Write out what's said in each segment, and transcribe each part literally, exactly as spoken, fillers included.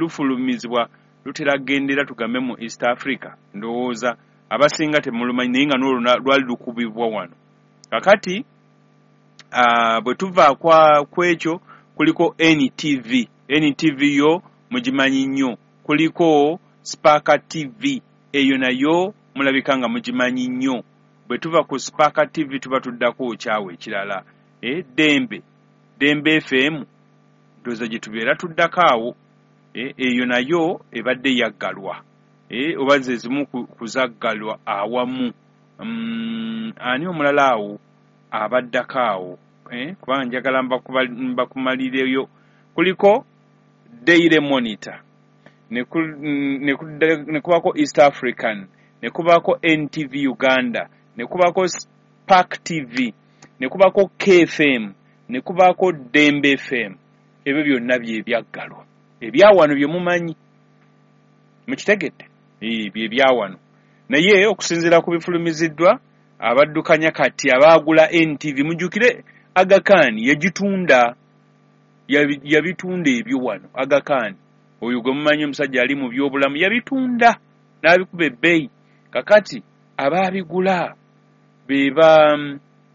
lufulumizibwa lutera gendera tugambe mu East Africa, ndowooza abasinga temulumanyi, naye nga n'olwo lwali lukubibwa wano. Kakati bwe tuva ku ekyo kuliko N T V, N T V yo mugimanyi nnyo, kuliko Spark T V, eyo nayo mulabika nga mugimanyi nnyo. Bwe tuva ku Spark T V tuba tuddako kyawe ekirala, eh, Dembe, Dembe F M, ndowooza gye tubeera tuddako awo, eyo nayo ebadde yaggalwa, oba ze zimu kuzaggalwa awamu. Ani omulala awo abaddako awo, kubanga njagala mbakumalireyo. Kuliko Daily Monitor, ne kubaako East African, ne kubaako N T V Uganda, ne kubaako Spark T V, ne kubaako K F M, ne kubaako Dembe F M. Ebyo byonna bye byaggalwa. Ebyawano bye mumanyi, mukitegedde, bye byawano. Naye okusinziira ku bifulumiziddwa abaddukanya kati abaagula N T V, mujjukire Aga Khan yagitunda, yabitunda ebyo wano. Aga Khan oyo gwe mumanyi omusajja ali mu byobulamu yabitunda n'abikuba ebbeeyi. Kakati abaabigula be ba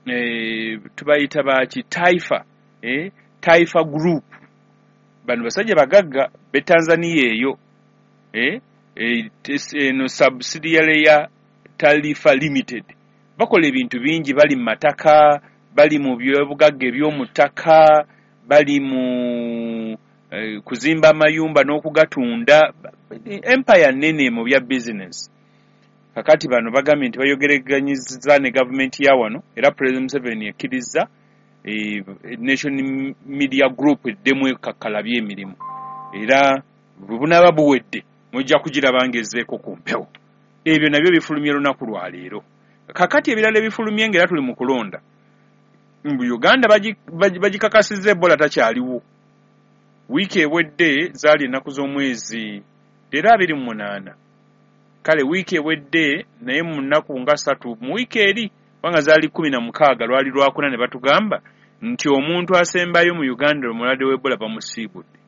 eh, tubayita baki, Taifa, eh, Taifa Group. Bano basajja bagagga be Tanzania eyo, eh, eno subsidiary ya Taifa Limited. Bakola ebintu bingi, bali mu mataka, bali mu byobugagga eby'omu ttaka, bali mu eh, kuzimba amayumba n'okugatunda. Empire nnene mu bya business. Kakati bano bagambye nti bayogereganyiza ne gavumenti ya wano, era President Museveni ekkiriza eh, Nation Media Group eddemu ekakkalabye emirimu, era bwe bunaaba buwedde mujja kugiraba ng'ezzeeko ku mpewo. Ebyo nabyo bifulumye lunaku lwa leero. Kakati ebirala ebifulumye ng'era tuli mu kulonda, mu Uganda bagikakasizza Ebola takyaliwo. Wiiki ewedde zaali ennaku z'omwezi leero abiri mu munaana. Kale wiiki ewedde naye mu nnaku nga ssatu mu wiiki eri, kubanga zaali kkumi na mukaaga lwali lwakuna, ne batugamba nti omuntu asembayo mu Uganda omulwadde w'Ebola bamusiibudde.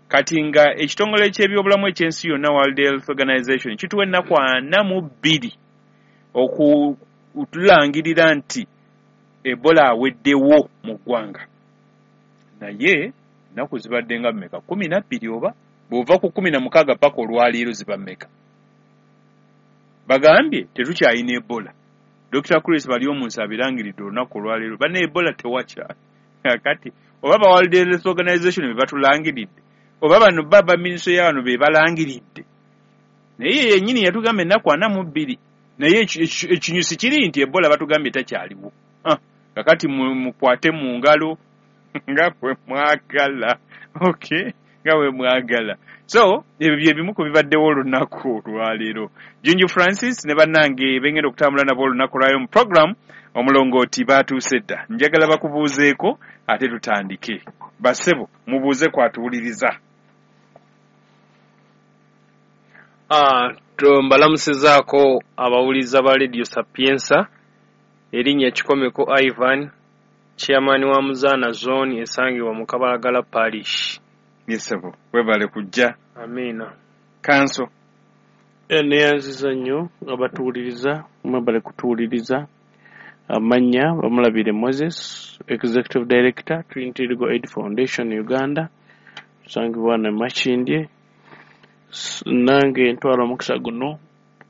Kati nga ekitongole ky'ebyobulamu eky'ensi yonna World Health Organization kituwa ennaku ana mu bbiri okutulangirira nti Ebola aweddewo mu ggwanga. Naye ennaku zibadde nga mmeka? Kkumi na bbiri oba? Bw'ova ku kkumi na mukaaga paka olwaleero ziba mmeka? Bagambye tetukyalina Ebola. Dokita Chris Baryomunsi abirangiridde olunaku olwaleero, banna Ebola tewakyali. Kati oba ba World Health Organization be batulangiridde, oba bano baba minisitule ya wano be balangiridde. Naye yennyini yatugamba ennaku ana mu bbiri, naye ekinyusi kiri nti Ebola batugambye takyaliwo. Kakati mukwate mu ngalo nga bwe mwagala, okay, nga bwe mwagala. So ebyo bye bimu ku bibaddewo olunaku olwaleero. Junju Francis ne bannange bengenda okutambula nabo olunaku lwayo mu program omulongooti baatuuse dda. Njagala bakubuuzeeko ate tutandike. Bassebo mubuuze kwatuwuliriza. Ah, mbalamusizaako abawuliza ba Radio Sapienza. Erinnya Kikomeko Ivan, chairman wa Muzaana Zone esangibwa mu Kabalagala Parish. Yesebo, webale kujja. Amiina. Kanso. Neyanziza nnyo abatuwuliriza, mwebale kutuwuliriza. Amannya Bamulabire Moses, Executive Director, Trinity Legal Aid Foundation Uganda, tusangibwa ne Makindye. Nange ntwala omukisa guno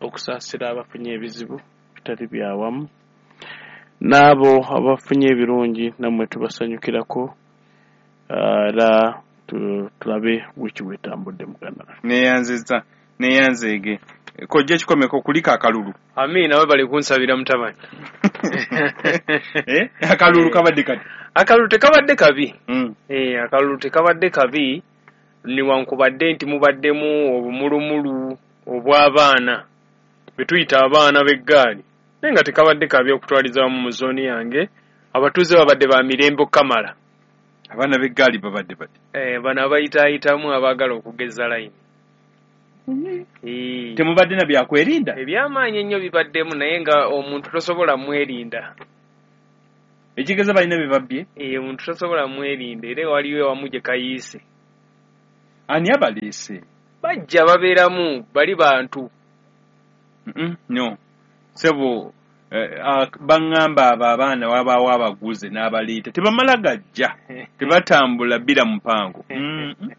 okusaasira abafunye ebizibu bitali byawamu, n'abo abafunye ebirungi nammwe tubasanyukirako, era tulabe wiiki bwetambudde muganda. Neyanziza, neyanzeege. Kojja Kikomeko kuliko akalulu. Amiina, webale kunsabira mutabani. Eh, akalulu kabadde kati. Akalulu tekabadde kabi. Mm. Eh, akalulu tekabadde kabi newankubadde nti mubaddemu obumulumulu obw'abaana betuyita abaana b'eggaali, naye nga tekabadde kabi okutwaliza wamu mu zooni yange. Abatuuze babadde ba mirembe okukamala. Abaana b'eggaali babadde bati? Eh, bano abayitaayitamu abaagala okugeza layini. Mm. Temubadde na byakwerinda? Ebyamaanyi ennyo bibaddemu, naye nga omuntu tosobola mwerinda. Ekigeza balina bye babbye? Eh, omuntu tosobola mwerinda, era waliwo ewamu gye kayiise. Ani abaleese? Bajja babeeramu bali bantu. Mm -mm, no sebo, eh, baŋŋamba abo abaana wabaawo abaguze n'abaleeta, tebamala gajja, tebatambula bbira mupango. Mm -mm.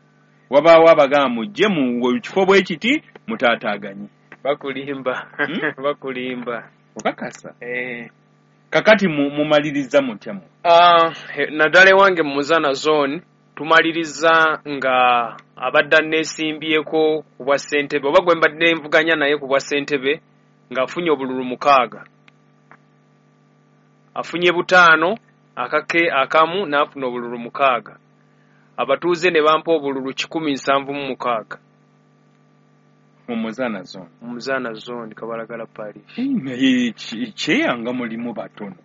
Wabaawo abagamba mujje mu kifo bwe kiti mutaataaganye. Bakulimba. Hmm? Bakulimba. Okakasa? Eh. Kakati mumaliriza mutya mu? Ah, naddala ewange mu Muzaana zone tumaliriza nga abadde anneesimbyeko ku bwa ssentebe, oba gwe mbadde nvuganya naye ku bwa ssentebe, ng'afunye obululu mukaaga, afunye butaano akake akamu n'afuna obululu mukaaga, abatuuze ne bampa obululu kikumi nsanvu mu mukaaga mu Muzaana zone. Mu Muzaana zone, Kabalagala parish. Naye kyeyanga mulimu batono,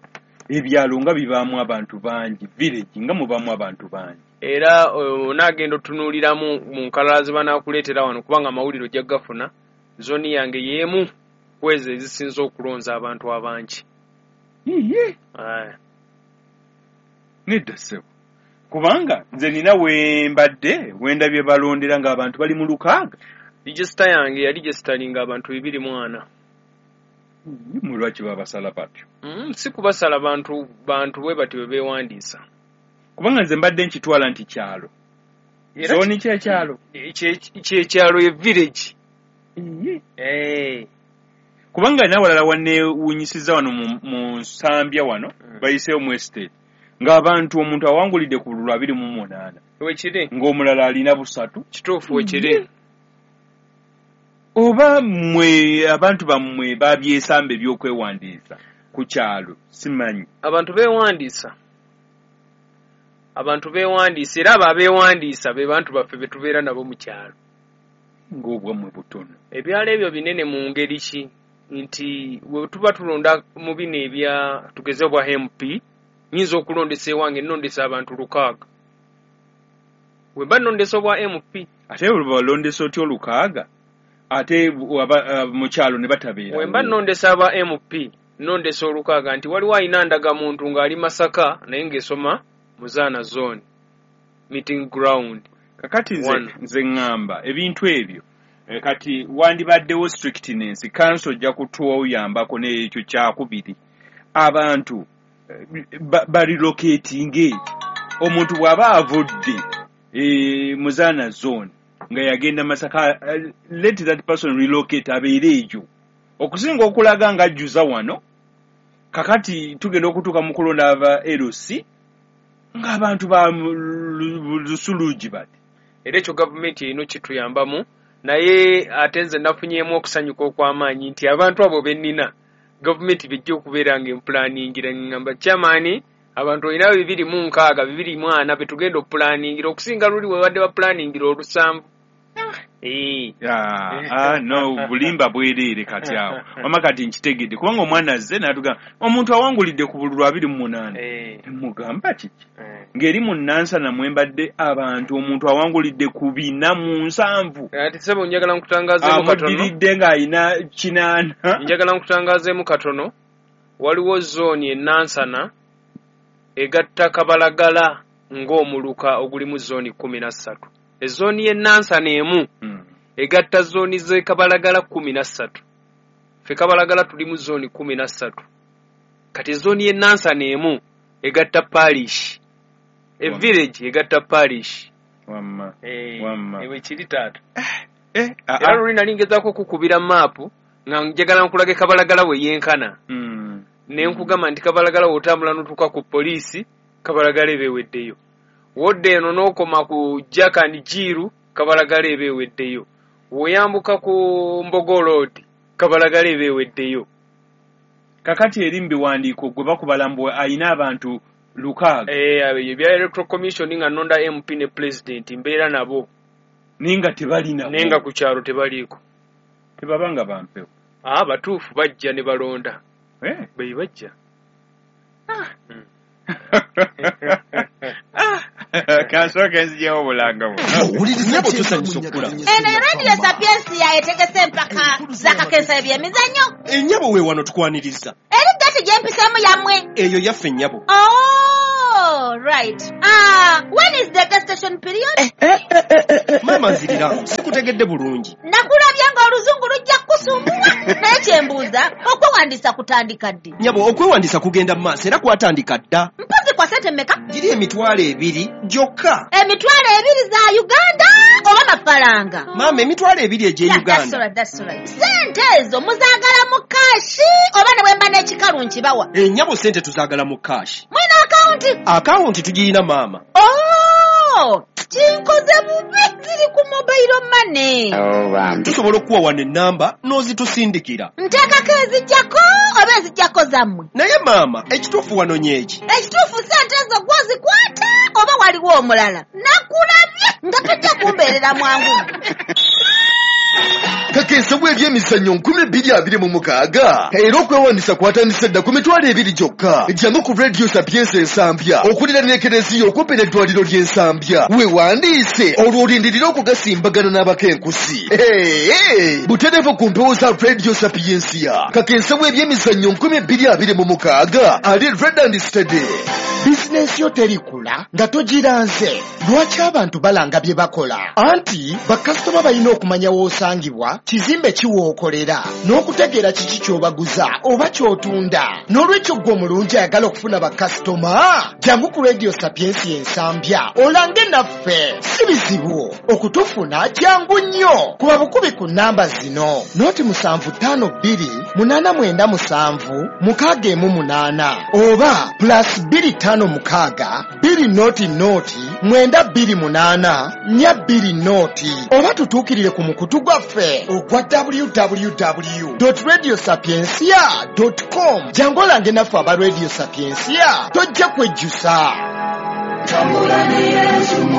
ebyalo nga bibaamu abantu bangi, village nga mubaamu abantu bangi. Era onaagenda otunuuliramu mu nkalala ze banaakuleetera wano, kubanga amawulire ojja gafuna. Zooni yange y'emu ku ezo ezisinze okulonza abantu abangi. Iye. Nedda ssebo, kubanga nze nina we mbadde wendabye balondera ng'abantu bali mu lukaaga. Regisita yange yali regisitalinga abantu bibiri mu ana. Mu lwaki babasala batyo? Mm, si kubasala bantu, bantu bwe batyo bwe beewandiisa. Kubanga nze mbadde nkitwala nti kyalo. Zooni kyekyalo? Kyekyalo ye village. Eh. Kubanga n'awalala wanneewuunyisizza wano mu Nsambya wano, mm. bayiseewo mu estate, ng'abantu omuntu awangulidde ku bululu abiri mu munaana. Wekiri. Ng'omulala alina busatu. Kituufu wekiri. Oba mmwe abantu bammwe babyesamba ebyokwewandiisa ku kyalo, simanyi. Abantu beewandiisa. Abantu beewandiisa, era abo abeewandiisa be bantu baffe be tubeera nabo mu kyalo. Ng'obwammwe butono. Ebyalo ebyo binene mu ngeri ki? Nti we tuba tulonda mu bino ebya tugeze obwa M P, nnyinza okulondesa ewange nnondesa abantu lukaaga. We mba nnondesa obwa M P. Ate bwe balondesa otya olukaaga? Ate mu kyalo ne batabeera. We mba nnondesa aba M P, nnondesa olukaaga nti waliwo alina ndagamuntu ng'ali Masaka naye ng'esoma Muzaana zone meeting ground. Kakati nze nze ŋŋamba ebintu ebyo e, kati wandibaddewo strictness, council ojja kutuyambako n'ekyo kyakubiri. Abantu barilocatinge, omuntu bw'aba avudde e, Muzaana zone nga yagenda Masaka, let that person relocate abeere eyo, okusinga okulaga ng'ajjuza wano. Kakati tugenda okutuuka mu kulonda aba L C ng'abantu ba lusulugi bati. Era ekyo gavumenti erina okituyambamu, naye ate nze nafunyeemu okusanyuka okw'amaanyi nti abantu abo be nnina gavumenti bejja okubeera ng'empulaningira. Ngamba chairman, abantu olina bibiri mu nkaaga bibiri mu ana be tugenda okupulaningira, okusinga luli we badde bapulaningira olusanvu. Eh. Ah, no, bulimba bwereere kati awo. Wamma kati nkitegedde kubanga omwana azze n'atugamba omuntu awangulidde ku bululu abiri mu munaana. Mugamba kiki? Ng'eri mu Nansana mwe mbadde abantu omuntu awangulidde ku bina mu nsanvu. Ati ssebo njagala nkutangaazeemu katono. Amuddiridde ng'alina kinaana. Njagala nkutangaazeemu katono. Waliwo zooni e Nansana egatta Kabalagala ng'omuluka ogulimu zooni kkumi na ssatu. Ezooni y'e Nansana emu mm. egatta zooni z'e Kabalagala kkumi na ssatu. Ffe Kabalagala tulimu zooni kkumi na ssatu. Kati zooni y'e Nansana emu egatta parish. E village egatta parish. Wamma. Eh, wamma. Ewe kiri taata. Eh, eh, era luli nali ngezaako okukubira maapu nga njagala nkulage Kabalagala we yenkana. Mm. Ne nkugamba nti Kabalagala w'otambula n'otuuka ku poliisi, Kabalagala eba eweddeyo. Wodde eno n'okoma ku Jack and Jiru, Kabalagala eba eweddeyo. W'oyambuka ku Mbogo Road, Kabalagala eba eweddeyo. Kakati eri mu biwandiiko gwe bakubala mbu alina abantu lukaaga. Eh, ebya Electoral Commission nga nnonda M P ne President mbeera nabo. Naye nga tebalina. Naye nga ku kyalo tebaliiko. Tebabanga bampewo. Ah, batuufu bajja ne balonda. Eh, be bajja. Ah. Mm. Kansooke nzijewo obulanga buno. Nnyabo tusanyusa okukula. Eno Radio Sapiensia etegese empaka z'akakensa eby'emizannyo. Ennyabo we wano tukwaniriza. Eri gati gy'empiseemu yammwe. Eyo yaffe nnyabo. Oh! Oh, right. Ah, when is the gestation period? Eh, eh, eh, eh, eh. Maama nzirira, sikutegedde bulungi. Nakulabye ng'oluzungu lujja kukusumbuwa. Naye kye mbuuza, okwewandiisa kutandika ddi? Nyabo, okwewandiisa kugenda mu maaso era kwatandika dda. Mpozi kwa ssente mmeka? Giri emitwalo ebiri gyokka. Emitwalo ebiri za Uganda oba mafaranga? Maama, emitwalo ebiri egy'e Yeah, Uganda. that's all right, that's all right. Ssente ezo muzaagala mu kashi oba ne bwe mba n'ekikalu nkibawa? Ennyabo ssente tuzaagala mu kashi. Mulina akawunti? Akawunti tugirina maama. Oh, kinkoze bubi, ziri ku mobile money. Tusobola okuwa wano ennamba n'ozitusindikira. Nteekako ezijjako oba ezijjako zammwe? Naye maama, ekituufu wanonye eki? Ekituufu ssente ezo gw'ozikwata oba waliwo omulala? Nakulabye nga tojja kumbeerera mwangu. Kakensebwa ebyemizannyo nkumi bbiri abiri mu mukaaga era okwewandisa kwatandise dda ku mitwalo ebiri gyokka. Jangu ku Radio Sapienza Ensambya okuliraana ekereziya okumpi n'eddwaliro ly'Ensambya, weewandiise olwo olindirire okugasimbagana n'abakenkusi. Hey, hey, butereevu ku mpewo za Radio Sapiensia. Kakensebwa ebyemizannyo nkumi bbiri abiri mu mukaaga ali red and steady. Bizinensi yo terikula nga togiranze. Lwaki abantu balanga bye bakola? Anti bakasitoma balina okumanya w'osangibwa, kizimbe ki w'okolera, n'okutegeera kiki ky'obaguza oba ky'otunda. N'olwekyo ggwe omulungi ayagala okufuna bakasitoma, jangu ku Radio Sapiensia Ensambya olange naffe. Si bizibu okutufuna, jangu nnyo. Kuba bukubi ku nnamba zino: noti musanvu ttaano bbiri munaana mwenda musanvu mukaaga emu munaana oba plus bbiri ttaano mukaaga bbiri noti noti mwenda bbiri munaana nnya bbiri noti, oba tutuukirire ku mukutu gwaffe ogwa w w w dot radio sapiensia dot com. Jangu olange naffe aba Radio Sapiensia, tojja kwejjusa.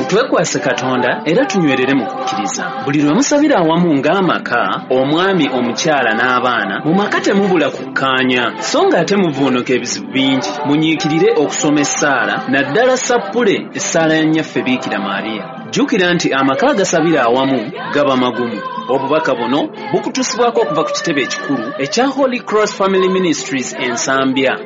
Twekwase Katonda era tunywerere mu kukkiriza. Buli lwe musabira awamu ng'amaka, omwami, omukyala n'abaana, mu maka temubula kukkaanya, so ng'ate muvuunuka ebizibu bingi. Munyiikirire okusoma essaala, naddala sappule essaala ya Nnyaffe Biikira Maria. Jjukira nti amaka agasabira awamu gaba magumu. Obubaka buno bukutuusibwako okuva ku kitebe ekikulu ekya Holy Cross Family Ministries Ensambya.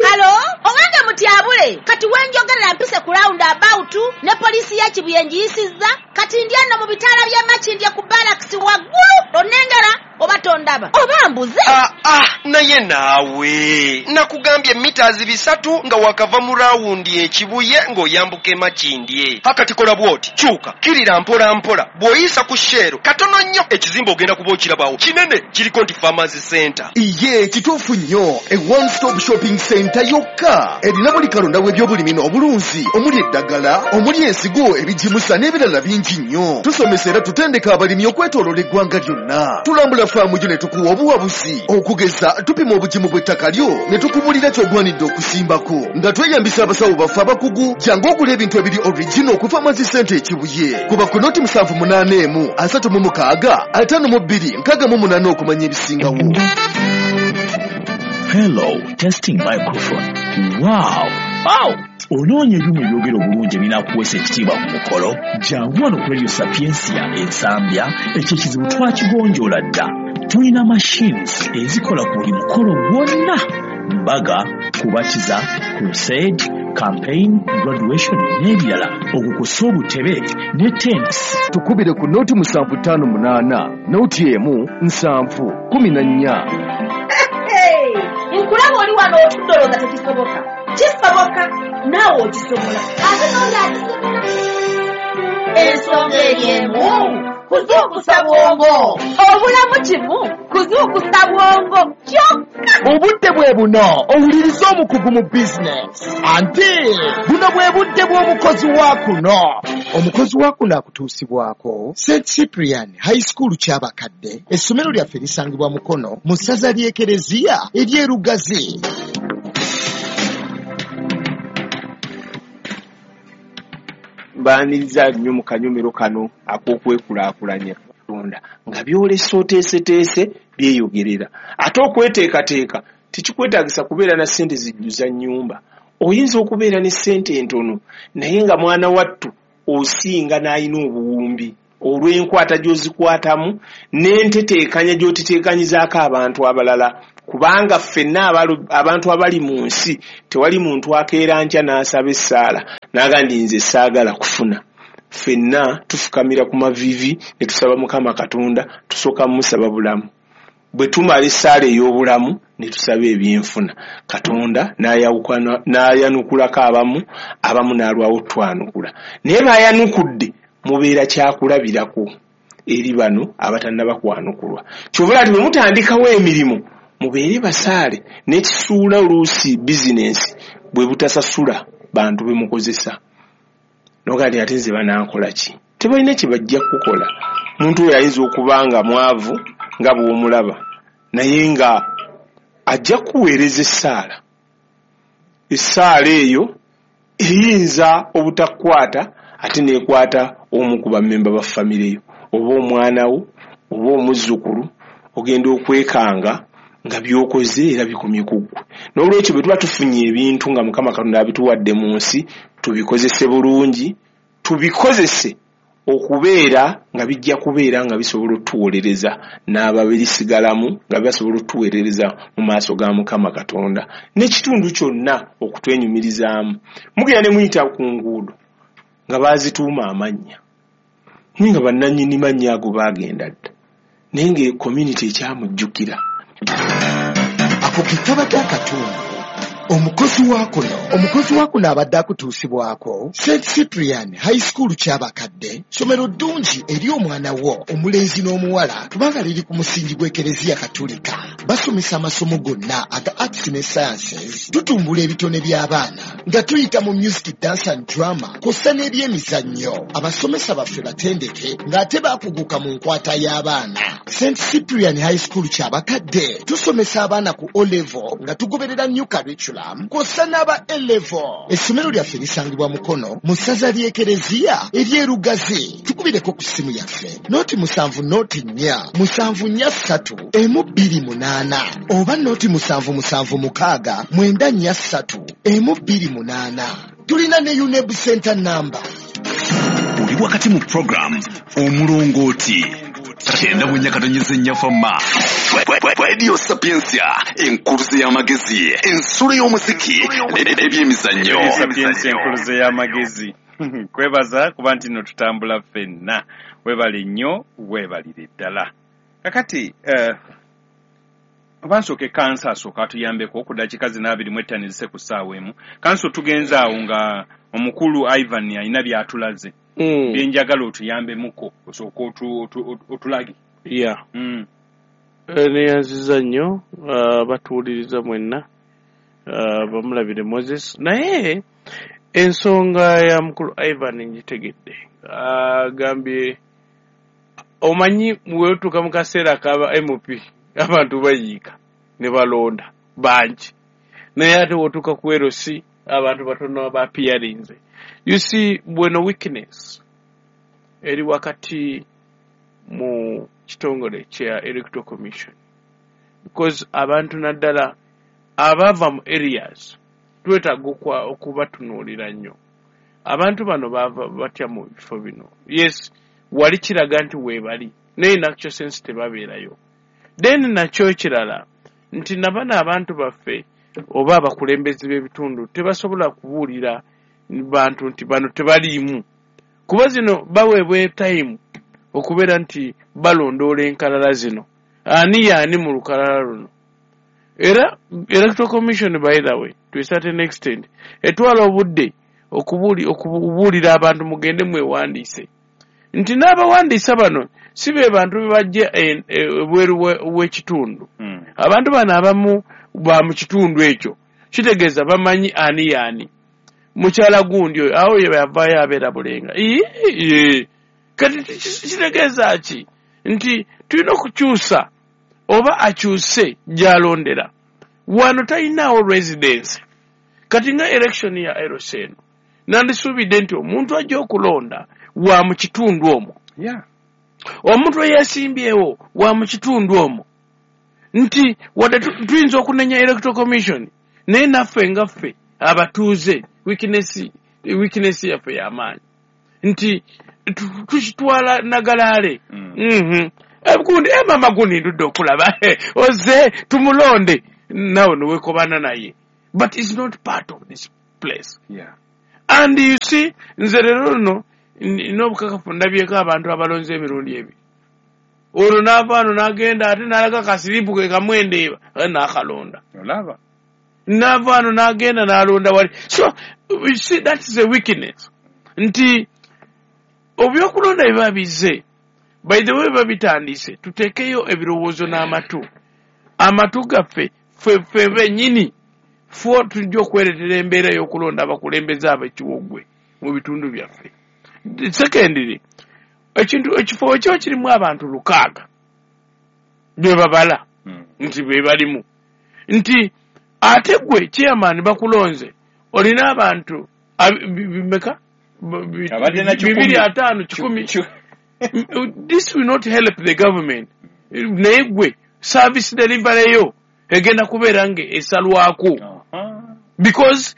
Halo, owange mutyabule, kati wenjogerera mpise ku round about ne poliisi ya Kibuye ngiyisizza, kati ndi ano mu bitaala bya Makindye ku barracks waggulu, onnengera oba tondaba oba mbuze? Ah, ah, naye naawe nakugambye mitazi bisatu nga wakava mu rawundi ekibuye ng'oyambuka Emakindye. Hakati kola bw'oti, kyuka kirira mpola mpola, bw'oyisa ku Shell katono nnyo ekizimbe ogenda kuba okirabawo kinene, kiriko nti Farmers Center. Iye kituufu nnyo, e one stop shopping center yokka erina buli kalonda w'ebyobulimi n'obulunzi, omuli eddagala, omuli ensigo, ebigimusa n'ebirala bingi nnyo. Tusomesa era tutendeka abalimi okwetooloola eggwanga lyonna. Tulambula faamu yo ne tukuwa obuwabuzi, okugeza tupima obugimu bw'ettaka lyo ne tukubulira ky'ogwanidde okusimbako nga tweyambisa abasawo baffe abakugu. Jangu ogula ebintu ebiri original ku Farmers Center Ekibuye. Kuba ku noti musanvu munaana emu asatu mu mukaaga ataano mu bbiri nkaaga mu munaana okumanya ebisingawo. Hello, testing microphone. Wow. Wow. Onoonya ebyuma ebyogera obulungi ebinaakuweesa ekitiibwa ku mukolo? Jangu wano ku Radio Sapiensia Ensambya, ekyo ekizibu twakigonjoola dda. Tulina machines ezikola ku buli mukolo gwonna: mbaga, kubatiza, crusade, campaign, graduation n'ebirala, okukusa obutebe ne tents. Tukubire ku noti musanvu ttaano munaana noti emu nsanvu kumi na nnya. Hey, nkulaba oli wano otudde olowooza tekisoboka. Kisoboka, naawe okisobola, ate n'oli akisobola. Ensonga eri emu, kuzuukusa bwongo. Obulamu kimu, kuzuukusa bwongo kyokka. Obudde bwe buno owuliriza omukugu mu bizinesi, anti buno bwe budde bw'omukozi wa kuno. Omukozi wa kuno akutuusibwako Saint Cyprian High School Kyabakadde. Essomero lyaffe lisangibwa Mukono mu ssaza ly'Ekereziya ery'e Lugazi. Mbaaniriza nnyo mu kanyomero kano ak'okwekulaakulanya Katonda nga byolesa oteeseteese byeyogerera. Ate okweteekateeka tekikwetaagisa kubeera na ssente zijjuza nnyumba. Oyinza okubeera ne ssente entono naye nga mwana wattu osinga n'alina obuwumbi olw'enkwata gy'ozikwatamu n'enteteekanya gy'oteteekanyizaako abantu abalala. Kubanga ffenna abantu abali mu nsi tewali muntu akeera nkya n'asaba essaala n'agamba nti nze saagala kufuna. Ffenna tufukamira ku maviivi ne tusaba Mukama Katonda, tusooka musaba bulamu. Bwe tumala essaala ey'obulamu ne tusaba ebyenfuna, Katonda n'ayanukulako abamu, abamu n'alwawo twanukula. Naye bayanukudde mubeera kyakulabirako eri bano abatannaba kwanukulwa. Kyova nti bwe mutandikawo emirimu mubeere basaale, n'ekisuula oluusi bizinensi bwe butasasula bantu be mukozesa. N'ogamba nti ate nze banankola ki? Tebalina kye bajja kukola. Muntu oyo ayinza okuba nga mwavu nga bw'omulaba, naye nga ajja kuweereza essaala. Essaala eyo eyinza obutakwata ate n'ekwata omu ku bammemba ba famire yo, oba omwana wo, oba omuzzukulu, ogenda okwekanga nga by'okoze era bikomye ku ggwe. N'olwekyo bwe tuba tufunye ebintu nga Mukama Katonda abituwadde mu nsi, tubikozese bulungi, tubikozese okubeera nga bijja kubeera nga bisobola otuwolereza n'ababirisigalamu, nga bisobola otuweerereza mu maaso ga Mukama Katonda n'ekitundu kyonna okutwenyumirizaamu. Mugenda ne muyita ku nguudo nga baazituuma amannya, naye nga bannannyini mannya ago baagenda dda, naye nga community ekyamujjukira. Ako ke kabadde akatundu. Omukozi wa kuno omukozi wa kuno abadde akutuusibwako Saint Cyprian High School Kyabakadde, ssomero ddungi eri omwana wo omulenzi n'omuwala, kubanga liri ku musingi gw'Ekereziya Katolika. Basomesa amasomo gonna aga arts ne sciences, tutumbula ebitone by'abaana nga tuyita mu music, dance and drama kw'ossa n'ebyemizannyo. Abasomesa baffe batendeke ng'ate baakuguka mu nkwata y'abaana. Saint Cyprian High School Kyabakadde tusomesa abaana ku O level nga tugoberera new curriculum kw'ossa n'aba A level. Essomero lyaffe lisangibwa Mukono mu ssaza ly'Ekereziya ery'e Lugazi. Tukubireko ku ssimu yaffe noti musanvu noti nnya musanvu nnya ssatu emu bbiri munaana oba noti musanvu musanvu mukaaga mwenda nnya ssatu emu bbiri munaana. Tulina ne UNEB Center number. Oli wakati mu program Omulongooti kyenda mu nnya katonyeze nnya fama Radio Sapientia, enkuluze y'amagezi, ensulo y'omuziki n'ebyemizannyo. Sapientia enkuluze y'amagezi. Kwebaza kuba nti nno tutambula ffenna. Weebale nnyo, weebalire ddala. Kakati uh, oba nsooke kansa asooka atuyambeko ku ddakiika zino abiri mu ettaano ezise ku ssaawa emu. Kanso tugenze awo nga omukulu Ivan alina by'atulaze. Mm. Byenjagala otuyambemuko osooke otulage. Yeah. Mm. Neyanziza nnyo uh, batuwuliriza mwenna, uh, bamulabire Moses. Naye ensonga ya mukulu Ivan ngitegedde. Agambye uh, omanyi weotuuka mu kaseera kaba M P abantu bayiika ne balonda bangi, naye ate wotuuka ku L C abantu batono bapiyarinze. You see, bweno weakness eri wakati mu kitongole kya Electoral Commission, because abantu naddala abava mu areas twetaaga okubatunuulira nnyo. Abantu bano bava batya mu bifo bino? Yes, wali kiraga nti weebali, naye in actual sense tebabeerayo. Then nakyo ekirala nti nabano abantu baffe oba abakulembeze b'ebitundu tebasobola kubuulira bantu nti bano tebaliimu, kuba zino baweebwa time okubeera nti balondoola enkalala zino, ani yaani mu lukalala luno. Era Electoral Commission, by the way, to a certain extent etwala obudde okubuulira abantu mugende mwewandiise, nti n'abawandiisa bano si be bantu be bajja ebweru w'ekitundu. Mm. Abantu bano abamu ba mu kitundu ekyo, kitegeeza bamanyi ani yaani mukyala gundi oyo awo ye yavaayo abeera Bulenga. Ii, kati kitegeeza ki? Nti tulina okukyusa oba akyuse gy'alondera. Wano talinaawo residence. Kati nga election ya L C eno, nandisuubidde nti omuntu ajja okulonda wa mu kitundu omwo. Yeah. Omuntu eyeesimbyewo wa mu kitundu omwo. Nti wadde tuyinza okunenya Electoral Commission, naye naffe nga ffe abatuuze weakness weakness yaffe y'amaanyi nti tukitwala nagalaale. Mm. Mhm. Gundi eh, mama gundi ndudde okulaba oze tumulonde nawe newekobana naye, but it's not part of this place. Yeah. And you see, nze leero luno n'obukakafu ndabyeko abantu abalonze emirundi ebiri, olwo n'ava wano n'agenda ate n'alaga kasiripu ke kamwendeeba ate n'akalonda, olaba n'ava wano n'agenda n'alonda wali. So you see, that is a weakness nti ebyokulonda biba bizze, by the way biba bitandise, tuteekeyo ebirowoozo n'amatu, amatu gaffe ffe ffe bennyini ffe tujja okwereetera embeera y'okulonda abakulembeze ab'ekiwogwe mu bitundu byaffe. Secondly, ekintu ekifo ekyo kirimu abantu lukaaga be babala Mm. nti be balimu, nti ate gwe chairman bakulonze olina abantu ab- bi- bimeka Bi- Abadde na kikumi. bibiri ataano kikumi. This will not help the government, naye gwe service delivery yo egenda kubeera nga esalwako Aha. because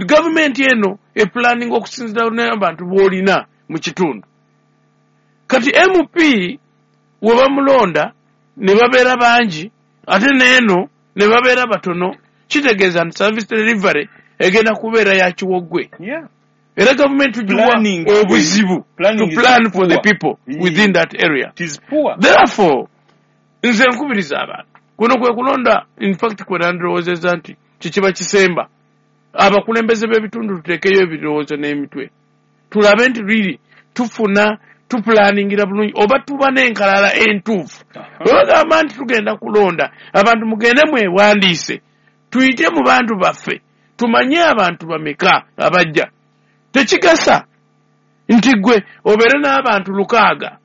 government eno eplanning okusinziira n'abantu b'olina mu kitundu. Kati M P we bamulonda ne babeera bangi ate n'eno ne babeera batono, kitegeeza nti service delivery egenda kubeera ya kiwogwe. Yeah. Era gavumenti tugiwa Planning. obuzibu Planning to is plan for the poor. people Yeah. within that area. It is poor. Therefore nze nkubiriza abantu, kuno kwe kulonda in fact kwe nandirowoozezza nti kikiba kisemba, abakulembeze b'ebitundu tuteekeyo ebirowoozo n'emitwe, tulabe nti really tufuna tupulaningira bulungi oba tuba n'enkalala entuufu. Bwe bagamba nti tugenda kulonda abantu, mugende mwewandiise, tuyite mu bantu baffe tumanye abantu bameka abajja. Tekigasa nti gwe obeere n'abantu lukaaga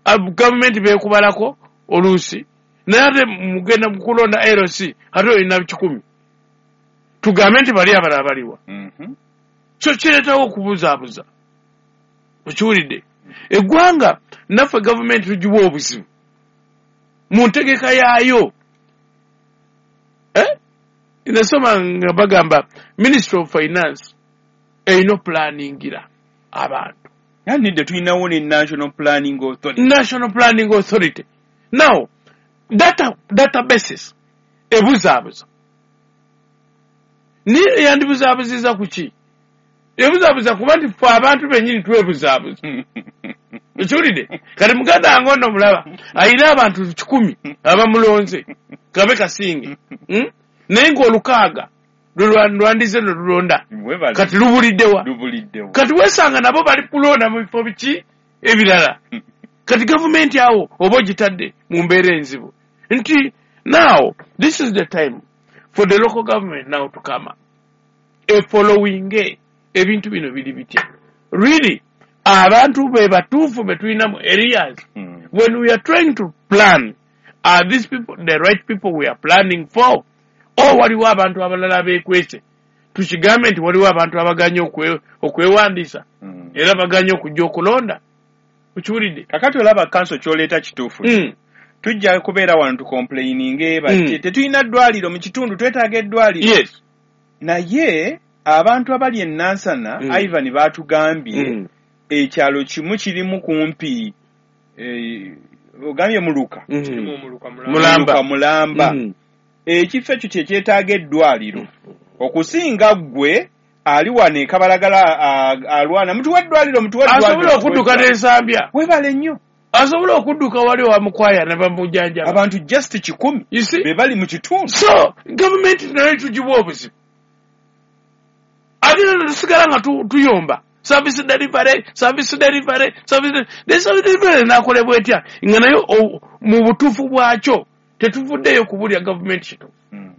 ab- gavumenti beekubalako oluusi, naye ate mugenda kulonda L C ate olina kikumi, tugambe nti bali abalala baliwa? Mhm. So kireetawo okubuzaabuza. Okiwulidde? Eggwanga naffe gavumenti tugiwa obuzibu mu ntegeka yaayo. Eh? Nasoma nga bagamba Ministry of Finance erina opulaningira abantu. Nidde tulinawo ne National Planning Authority. National Planning Authority. Now data databases ebuzaabuza, niye yandibuzaabuziza ku ki? Ebuzaabuza kuba nti ffe abantu bennyini twebuzaabuza. Ekiwulidde? Kati muganda wange ono mulaba ayina abantu kikumi abamulonze kabe kasinge, Hmm? Naye ng'olukaaga lwe lwandize ne lulonda Webale. kati lubuliddewa? Lubuliddewa. Kati weesanga nabo bali kulonda mu bifo biki ebirala. Kati gavumenti awo oba ogitadde mu mbeera enzibu nti now this is the time for the local government now to come up efollowinge ebintu bino biri bitya, really abantu be batuufu be tulina mu areas. Mm. When we are trying to plan, are these people the right people we are planning for, or waliwo abantu abalala abeekwese? Tukigambe nti waliwo abantu abaganye okwe- okwewandiisa Mm. era baganye okujja okulonda. Okiwulidde? Kakati olaba kanso kyoleeta kituufu. Mm. Tujja kubeera wano tucomplaininge bati Mm. tetulina ddwaliro mu kitundu, twetaaga eddwaliro, yes naye abantu abali e Nansana, Mm. Ivan, baatugambye Mm. ekyalo kimu kirimu kumpi eh, ogambye muluka. Mm. Kirimu omuluka mulamba. Mulamba. Muluka mulamba. Mm. Ekifo ekyo kyekyetaaga eddwaliro okusinga ggwe ali wano e Kabalagala a- alwana mutuwa eddwaliro, mutuwa Asobola eddwaliro. okudduka n'ensambya. Webale nnyo. Asobola okudduka wali owamukwaya ne bamujjanjaba. Abantu just kikumi You see? be bali mu kitundu. So gavumenti nayo tugiwa obuzibu, ate nno tusigala nga tu- tuyomba service delivery, service delivery, service de- the service delivery nakolebwa etya nga nayo o- mu butuufu bwakyo tetuvuddeyo kubulya gavumenti kituufu? Mm.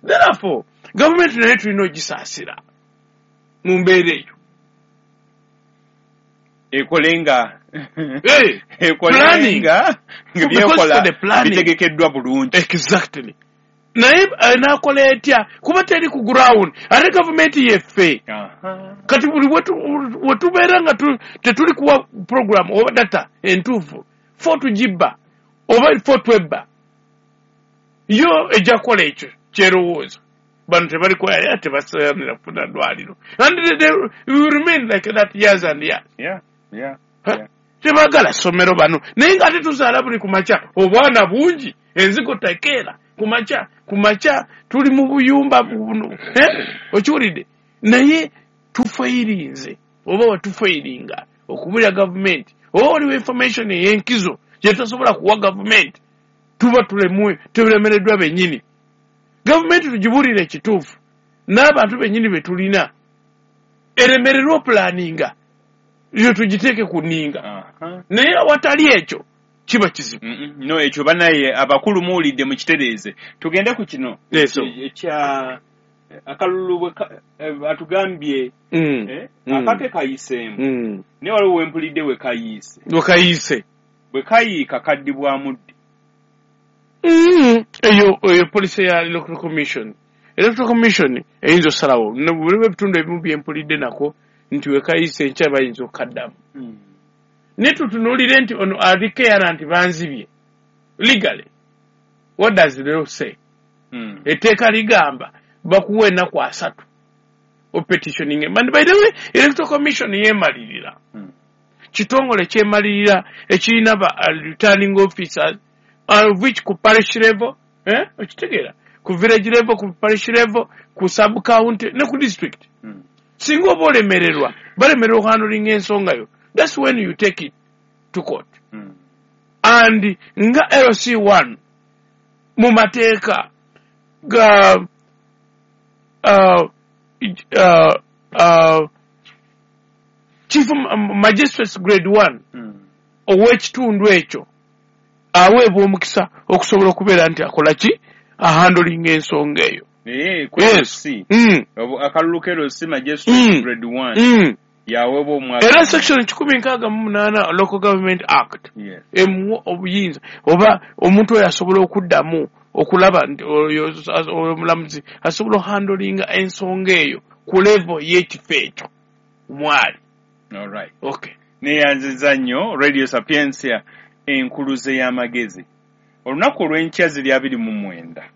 Therefore gavumenti nayo tulina ogisaasira mu mbeera eyo. Ekole nga Hey, ekole planning. nga nga Because byekola for the planning. bitegekeddwa bulungi. Exactly. Naye eh, nakola etya kuba teri ku ground, ate gavumenti yeffe? Aha. Kati buli wetu- wetubeera nga tu- tetuli kuwa program oba data entuufu, fo tugibba oba fo twebba, yo ejja kukola ekyo kyerowooza bano tebali kwaya, tebasaanira kufuna ddwaliro, and they, they will remain like that years and years. Yeah, yeah, Huh? yeah. Tebagala ssomero bano, naye nga ate tuzaala buli ku makya obwana bungi, enzigo tekeera ku makya, ku makya tuli mu buyumba buno, eh? Okiwulidde? Naye tufairinze oba watufairinga okubulira gavumenti oba waliwo information ey'enkizo gye tutasobola kuwa gavumenti, tuba tulemwe tulemereddwa bennyini. Gavumenti tugibuulire ekituufu n'abantu bennyini be tulina, eremererwa opulaninga yo tugiteeke ku nninga, naye awatali ekyo kiba kizibu. No, ekyo banaye abakulu muwulidde, mukitereeze. Tugende ku kino ekya akalulu atugambye akake kayiseemu, naye waliwo wempulidde we kayiise, we kayiise bwe kayiika kaddibwamu ddi? Eyo eyo policy ya Electoral Commission. Electoral Commission eyinza osalawo mulimu ebitundu ebimu byempulidde nako nti we kayiise enkya bayinza okukaddamu, naye tutunuulire nti ono aliko nti banzibye legally. What does the law say? Etteeka ligamba bakuwa ennaku asatu opetitioning. And by the way, Electoral Commission yeemalirira, kitongole kyemalirira ekirina ba returning officers, of which ku parish level, eh, okitegeera, ku village level, ku parish level, ku sub county ne ku district. Singa oba olemererwa, balemererwa okuhandlinga ensonga yo, that's when you take it to court. And nga L C one mu mateeka ga uh, uh, uh, Chief Magistrate Grade one ow'ekitundu ekyo aweebwa omukisa okusobola okubeera nti akola ki, ahandlinga ensonga eyo. Yes. Akalulu ka L C Magistrate Grade one yaweebwa omwaka. Era section kikumi nkaaga mu munaana Local Government Act emuwa obuyinza oba omuntu oyo asobola okuddamu okulaba nti oyo omulamuzi asobola okuhandlinga ensonga eyo ku level y'ekifo ekyo mwali. All right. Okay. Neyanziza nnyo Radio Sapientia enkuluze y'amagezi. Olunaku olw'enkya ziri abiri mu mwenda.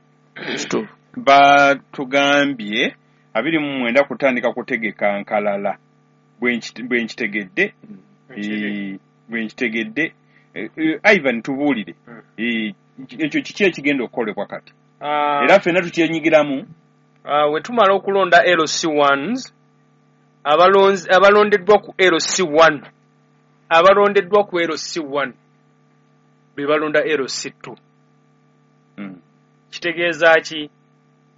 Batugambye abiri mu mwenda kutandika kutegeka nkalala. Bwe nkitegedde, bwe nkitegedde, Ivan tubuulire. Ekyo kiki ekigenda okukolebwa kati? Era ffenna tukyenyigiramu. We tumala okulonda L C ones, abalonzi abalondeddwa ku L C one, abalondeddwa ku L C one be balonda L C two. Kitegeeza ki?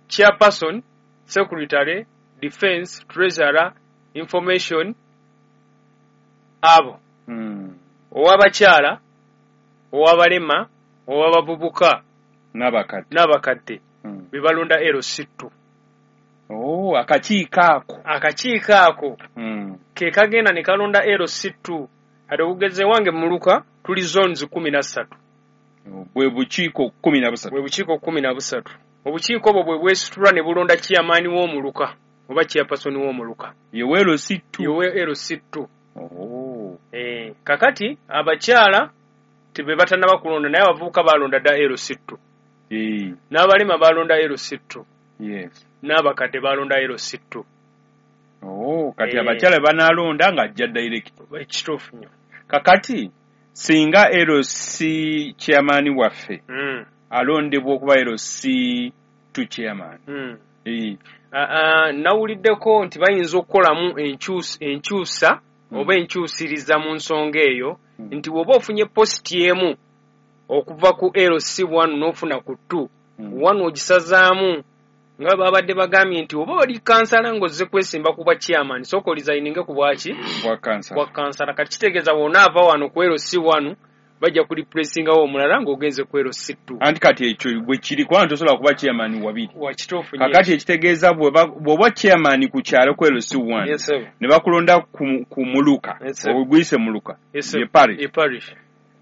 Chairperson, secretary, defense, treasurer, information, abo ow'abakyala, ow'abalema, ow'abavubuka n'abakadde n'abakadde be balonda L C two. Oh, akakiiko ako, akakiiko ako ke kagenda ne kalonda L C two. Ate okugeza ewange muluka tuli zones kumi na ssatu, bwe bukiiko kumi na busatu, bwe bukiiko kumi na busatu. Obukiiko obwo bwe bwesitula ne bulonda chairman w'omuluka oba chairperson w'omuluka yewe L C two, yewe L C two. Oh. Eh, kakati abakyala tebe batannaba kulonda, naye abavubuka balonda dda L C two. Eh. N'abalema balonda L C two. Yes. N'abakadde balonda L C two. Oh, kati eh, abakyala banalonda nga ajja direct. Ekituufu nnyo. Kakati singa L C chairman waffe mm. alondebwa okuba L C two chairman. Mm. Eh. Uh, nawuliddeko nti bayinza okukolamu enkyusa mm. oba enkyusiriza mu nsonga eyo mm. nti bw'oba ofunye positi emu okuva ku L C one n'ofuna ku two mm. one ogisazaamu, nga babadde bagambye nti oba oli kansala ng'ozze kwesimba ku bwa chairman, sooka orisigninge ku bwaki bwa kansala. Kati kitegeeza bw'onaava wano ku L C one bajja kureplacingawo omulala ng'ogenze ku L C two. Anti kati ekyo bwe kiri, kubanga tosobola kuba chairman wabiri. Wakituufu nnyo. Kakati ekitegeeza bw'oba chairman ku kyalo ku L C one yes, ne bakulonda ku, ku muluka, yes, oguyise muluka yes, ye parish. Ye parish.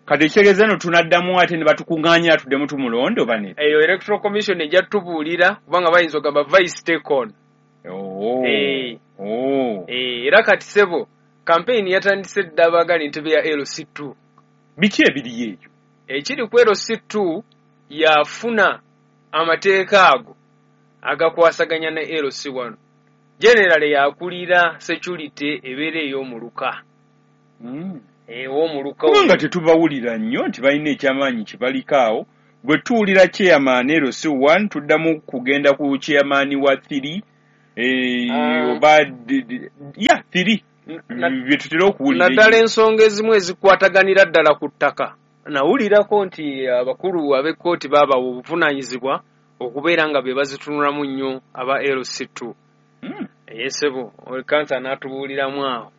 Kati ekitegeeza eno tunaddamu ate ne batukuŋŋaanya tuddemu tumulonde oba nedda? Eyo Electoral Commission ejja tubuulira kubanga bayinza okugamba vice take on. Oh. Eh. Oh. Eh, era kati ssebo campaign yatandise dda abaagala entebe ya L C two. Biki ebiriyo ekyo? Ekiri ku L C two yafuna amateeka ago agakwasaganya ne L C one. General yakulira security ebeera ey'omuluka. Mm. Ow'omuluka Kubanga tetubawulira nnyo nti balina ekyamaanyi kibaliko awo. Bwe tuwulira chairman L C one, tuddamu kugenda ku chairman wa three, eh, Ah. oba d- d- ya three Na- bye tutera okuwulira. Naddala ensonga ezimu ezikwataganira ddala ku ttaka, nawulirako nti abakulu ab'ekkooti baabawa obuvunaanyizibwa okubeera nga be bazitunulamu nnyo aba L C two. Mm, Yesebo kansa n'atubuuliramu awo,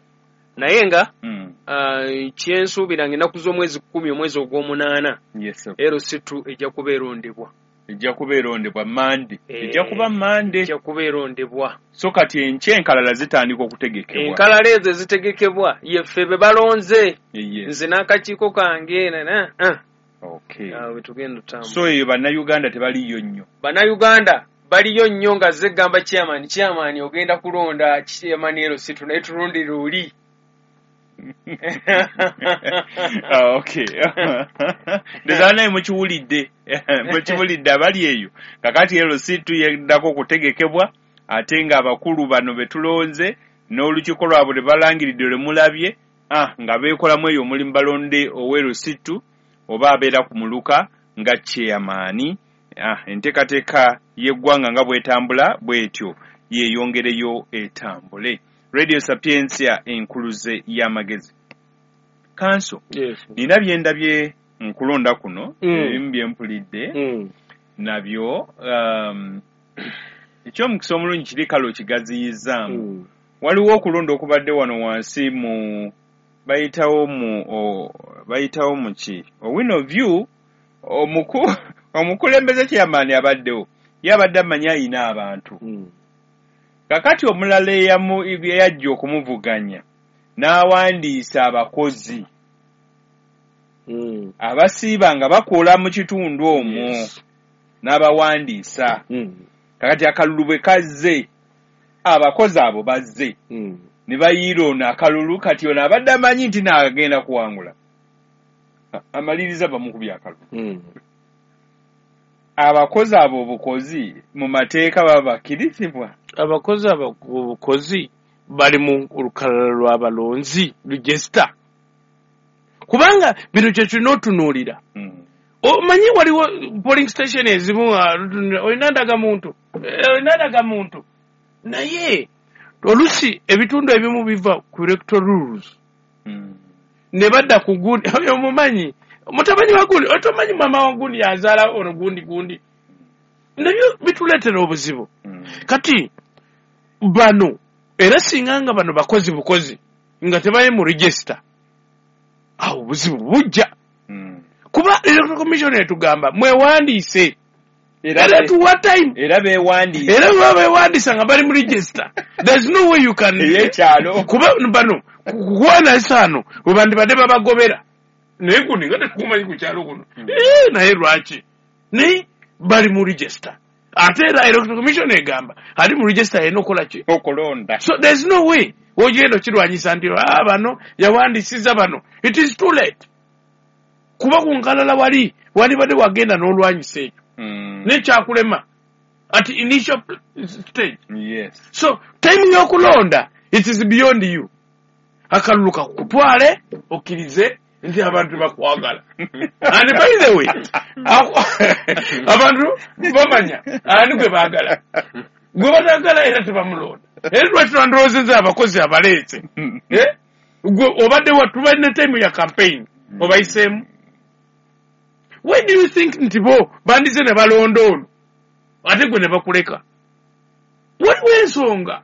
naye nga mm, ah, kyensuubira nga ennaku z'omwezi kkumi omwezi ogw'omunaana yes sir. L C two ejja kuba erondebwa. Ejja kuba erondebwa Mande. Eh, Ejja kuba Mande. Ejja kuba erondebwa. So kati enkya enkalala zitandika okutegekebwa. Enkalala ezo ezitegekebwa yeffe be balonze, Eh, yes. nze n'akakiiko kange nana ah, Okay. awo we tugenda otambula. So eyo Bannayuganda tebaliyo nnyo. Bannayuganda baliyo nnyo nga ze gamba chairman, chairman ogenda kulonda chairman L C two, naye tulondere oli. Ah, okay, ndowooza naye mukiwulidde, mukiwulidde abali eyo. Kakati L C two yeddako okutegekebwa, ate ng'abakulu bano be tulonze n'olukiiko lwabwe lwe balangiridde lwe mulabye, ah, nga beekolamu eyo omulimu, balonde owa L C two oba abeera ku muluka nga chairman. Ah, enteekateeka y'eggwanga nga bw'etambula bw'etyo yeeyongereyo etambule. Radio Sapientia, enkuluze y'amagezi. Kanso, Yes. nina byendabye nkulonda kuno, Mm. ebimu byempulidde Mm. nabyo, um, ekyomukisa omulungi kiri kale okigaziyizaamu. Mm. Waliwo okulonda okubadde wano wansi mu bayitawo mu o, bayitawo mu ki Owino View. Omuku omukulembeze chairman abaddewo ye abadde amanyi ayina abantu. Mm. Kakati omulala eyamu- eyajja okumuvuganya n'awandiisa abakozi Mm. abasiiba nga bakola mu kitundu omwo. Yes. N'abawandiisa. Mm. Kakati akalulu bwe kazze, abakozi abo bazze Mm. ne bayiira ono akalulu. Kati ono abadde amanyi nti naagenda kuwangula, A- amaliriza bamukubye akalulu. Mm. Abakozi abo obukozi mu mateeka baba bakkirizibwa? Abakozi abo obukozi bali mu lukalala lw'abalonzi, register, kubanga bino kye tulina otunuulira. Mm. Omanyi waliwo polling station ezimu nga lutunulira, olina ndagamuntu, Eh, olina ndagamuntu, naye olusi ebitundu ebimu biva ku electoral rules Mm. ne badda ku gundi oyo omumanyi mutabani wa gundi, otomanyi mama wa gundi yazaala ono gundi gundi, nabyo bituleetera obuzibu. Mm. Kati bano era singa nga bano bakozi bukozi nga tebali mu register, awo obuzibu bujja, Mm. kuba Electoral Commission etugamba mwewandiise. Era Era be- tuwa time. Era beewandiisa. Era baba bewandiisa nga bali mu register, there's no way you can Ey'ekyalo. Kuba bano kuwana we bandibadde babagobera, naye gundi nga tetukumanyi ku kyalo kuno. Eh, naye lwaki naye bali mu register? Ate era Electoral Commission egamba ali mu register yalina okukola ki? Okulonda. So there's no way ogenda okirwanyisa nti, "Ah, bano yawandiisiza bano." It is too late, kuba ku nkalala wali wandibadde wagenda n'olwanyisa ekyo Mm. nekyakulema at initial stage. Yes. So time y'okulonda, it is beyond you. Akalulu kakutwale okkirize nti abantu bakwagala. And by the way, aku- abantu bamanya ani gwe baagala, gwe batagala era tebamulonda. Era lwaki twandiroozezza abakozi abaleese? Eh? Gwe obadde wa tubalina time ya campaign obayiseemu. Why do you think nti bo bandize ne balonda ono ate gwe ne bakuleka? Waliwo ensonga.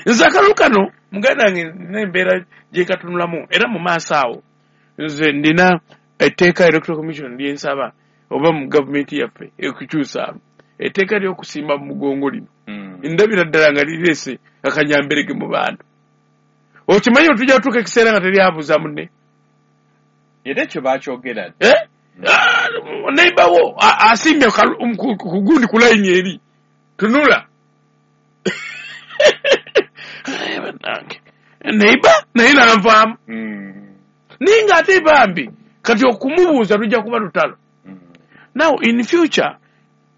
Nze akalulu kano, muganda wange, nina embeera gyekatunulamu era mu maaso awo nze ndina etteeka Electoral Commission lyensaba oba mu gavumenti yaffe ekukyusaamu etteeka ly'okusimba mu mugongo lino. Mm. Ndabira ddala nga lireese akanyamberege mu bantu. Okimanyi otujja kutuuka ekiseera nga teryabuuza munne. Era ekyo bakyogera. Eh? Ah, neighbor wo a- asimbye kalu- um, ku ku gundi ku layini eri tunula. Eh, bannange, neighbor naye nanvaamu. Mm. Naye ng'ate bambi kati okumubuuza lujja kuba lutalo. Mm. Now in future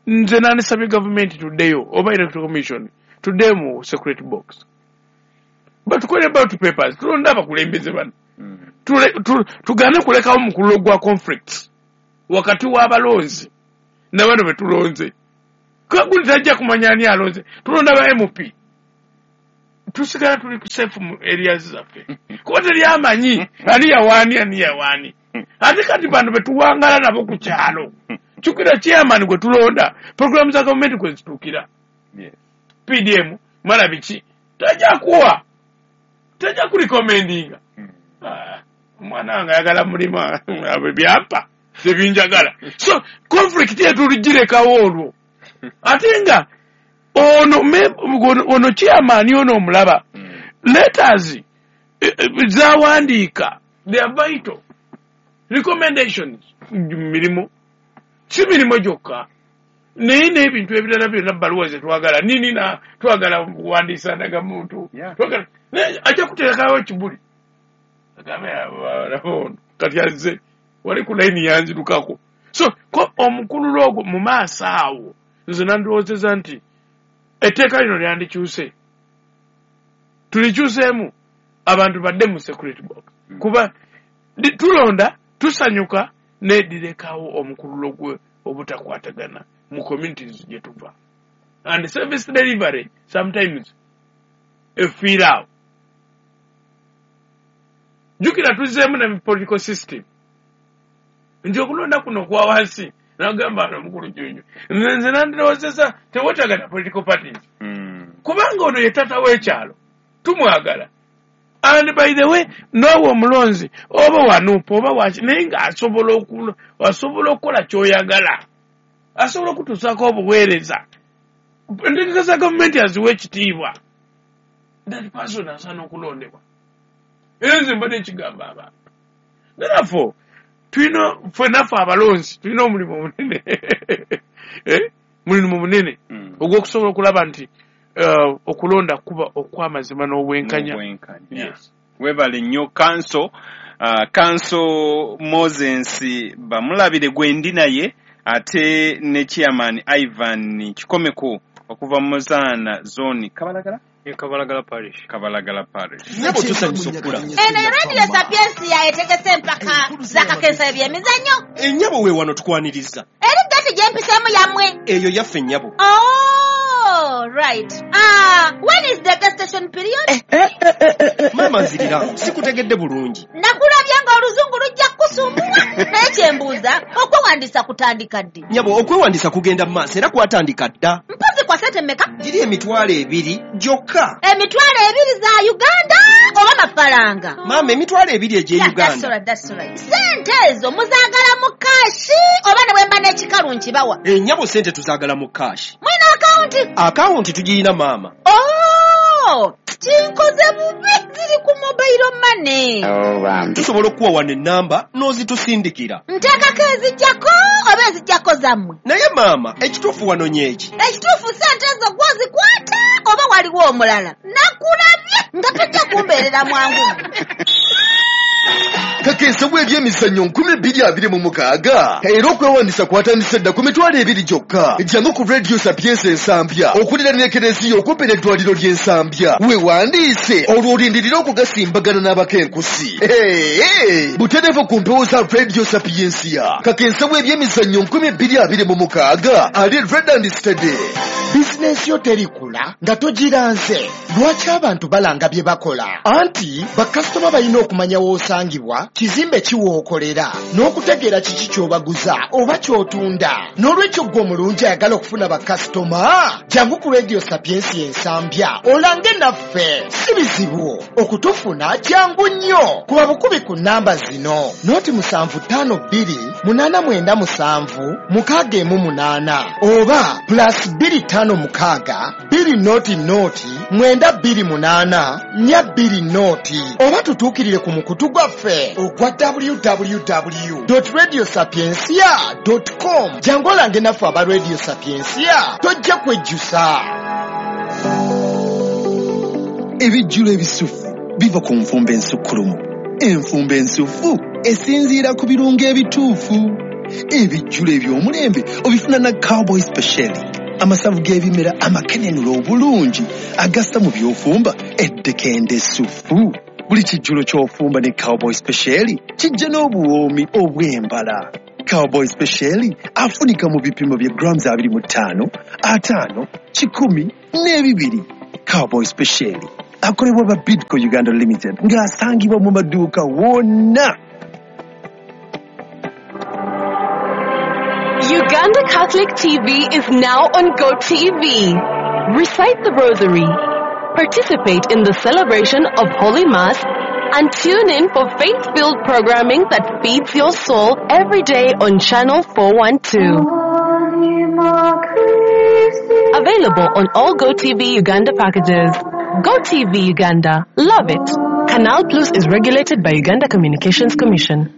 nze nandisabye gavumenti tuddeyo oba Electoral Commission tuddeyo mu secret box, batukole ballot papers, tulonde abakulembeze bano. Mm. Tugane kulekawo mukululo gwa conflicts wakati w'abalonzi ne bano be tulonze. Kaguli tajja kumanya ani alonze. Tulonda ba M P. Tusigala tuli ku safe mu areas zaffe. Kuba teri amanyi ani yawaani ani yawaani. Ate kati bano be tuwangala nabo ku kyalo. Kyukira chairman gwe tulonda programu za gavumenti kwe zituukira. Yes. P D M mara biki tajja kuwa tajja kurecommendinga. Ah, omwana wange ayagala mulimu abo byampa tebinjagala. So conflict yetu tuligirekawo olwo. Ate nga ono ono chairman ono omulaba letters zawandiika they are vital recommendations mirimu si mirimu gyokka naye n'ebintu ebirala byonna bbaluwa ze twagala nini na twagala kuwandiisa ndagamuntu twagala naye ajja kuteekawo ekibuli agambe ono kati azze wali ku layini yanzirukako. So ko omukululo ogwo mu maaso awo nze nandiwoozeza nti etteeka lino lyandikyuse tulikyuseemu abantu badde mu security box kuba tulonda tusanyuka nedirekawo omukululo gwe obutakwatagana mu communities gye tuva and service delivery sometimes efiiraawo. Jjukira tuzzeemu ne political system nti okulonda kuno kwa wansi nagamba ano omukulu Junju nze nandirowoozesa teweetagana political parties kubanga ono ye taata w'ekyalo tumwagala. And by the way n'owa omulonzi oba wanuupa oba waki naye ng'asobola asobola okukola ky'oyagala asobola okutuusaako obuweereza entegeka za gavumenti aziwa ekitiibwa that person asaana okulondebwa. Era nze mbadde nkigamba abantu therefore tulina ffenna ffe abalonzi tulina omulimu omunene mulimu munene ogw'okusobola okulaba nti okulonda kuba okw'amazima n'obwenkanya. Yes. Webale nnyo kanso kanso Moses Bamulabire gwe ndi naye ate ne chairman Ivan Kikomeko okuva mu Muzaana zone Kabalagala Kabalagala Parish. Kabalagala Parish. Nyabo tusanyusa okukula. Eno Radio Sapiensia etegese empaka za kakensa ebyemizannyo. Ennyabo we wano tukwaniriza. Eri gati gyempiseemu yammwe. Eyo yaffe nnyabo. Oh, right. Ah, when is the gestation period? Eh, eh, eh, eh, eh. Mama nzirira, sikutegedde bulungi. Nakulabye ng'oluzungu lujja kukusumbuwa. Naye kyembuuza, okwewandiisa kutandika ddi? Nyabo, okwewandiisa kugenda mu maaso era kwatandika dda. Mpozi kwa ssente mmeka? Giri emitwalo ebiri gyokka. Emitwalo ebiri za Uganda oba mafaranga? Maama, emitwalo ebiri egy'e Yeah, Uganda. that's all right, that's all right. Ssente ezo muzaagala mu kaashi oba ne bwe mba n'ekikalu nkibawa? Ennyabo ssente tuzaagala mu kaashi. Mulina akawunti? Akawunti tugirina maama. Oh, kinkoze bubi ziri ku mobile money. Tusobola okuwa wano ennamba n'ozitusindikira. Nteekako ezijjako oba ezijjako zammwe? Naye maama, ekituufu wanonye eki? Ekituufu ssente ezo gw'ozikwata oba waliwo omulala? Nakulabye nga tojja kumbeerera mwangu. Kakensa bw'ebyemizannyo nkumi bbiri abiri mu mukaaga era okwewandisa kwatandise dda ku mitwalo ebiri gyokka. Jangu ku Radio Sapiensia Ensambya okuliraana ekereziya okumpi n'eddwaliro ly'Ensambya weewandiise olwo olindirire okugasimbagana n'abakenkusi. Butereevu ku mpewo za Radio Sapiensia. Kakensa bw'ebyemizannyo nkumi bbiri abiri mu mukaaga ali Red and Steady. Bizinensi yo terikula nga togiranze. Lwaki abantu balanga bye bakola? Anti bakasitoma balina okumanya w'osangibwa, kizimbe ki w'okolera, n'okutegeera kiki ky'obaguza oba ky'otunda. N'olwekyo ggwe omulungi ayagala okufuna bakasitoma, jangu ku Radio Sapiensia Ensambya olange naffe. Si bizibu okutufuna, kyangu nnyo. Kuba bukubi ku nnamba zino: noti musanvu ttaano bbiri munaana mwenda musanvu mukaaga emu munaana oba plus bbiri ttaano mukaaga bbiri noti noti mwenda bbiri munaana nnya bbiri noti oba tutuukirire ku mukutu gwaffe ogwa w w w dot radio sapiensia dot com. Jangu olange naffe aba Radio Sapiensia, tojja kwejjusa. Ebijjulo ebisufu biva ku nfumba ensukkulumu. Enfumba ensufu esinziira ku birungo ebituufu. Ebijjulo eby'omulembe obifuna na Cowboy Special. Amasavu g'ebimera amakenenula obulungi agassa mu by'ofumba eddekende essufu. Buli kijjulo ky'ofumba ne Cowboy Special kijja n'obuwoomi obw'embala. Cowboy Special afunika mu bipimo bya grams abiri mu ttaano, ataano, kikumi n'ebibiri. Cowboy Special akolebwa ba Bidco Uganda Limited ng'asangibwa mu maduuka wonna. Uganda Catholic T V is now on GoTV. Recite the Rosary, participate in the celebration of Holy Mass, and tune in for faith-filled programming that feeds your soul every day on Channel four one two. Available on all GoTV Uganda packages. GoTV Uganda. Love it. Canal Plus is regulated by Uganda Communications Commission.